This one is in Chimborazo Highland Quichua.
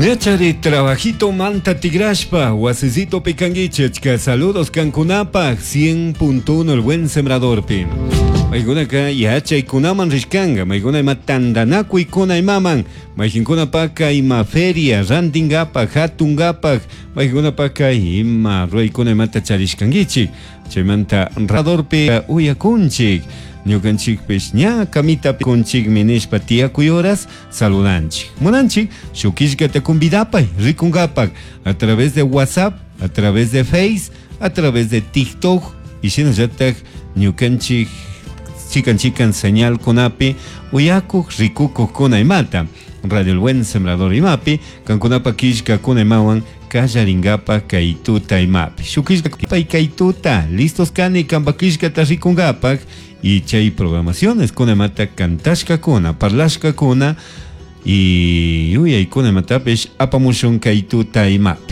Ñachari trabajito manta tigrashpa wasisitopi kanguichik saludos kankunapaj 100.1 el buen sembradorpi. Maykunaka yachaykunaman rishkanga, maykuna ima tandanakuykuna imaman, maykinkunapaka ima feria rantinkapak, hatunkapak, maykunapaka ima ruraykuna imata charishkankichik. Chaymanta radorpi uyakunchik, ñukanchikpish ña kamitapi kunchikmi nishpa tiyakuy horas saludanchik. Munanchik shuk killkata convidapay rikunkapak a través de WhatsApp, a través de Face, a través de TikTok y shinallatak ñukanchik chikan chikan señalkunapi uyakuq rikukuqkuna imata Radio El Buen Sembrador imapi kankunapa killkakuna imawan kallarinkapak kay tuta imapi shuk killka kay tuta listos kani kanpa killkata rikunkapak y chay programaciones kuna imata cantashkakuna parlashkakuna y yuyaykuna imatapish apamushun kay tuta imapi.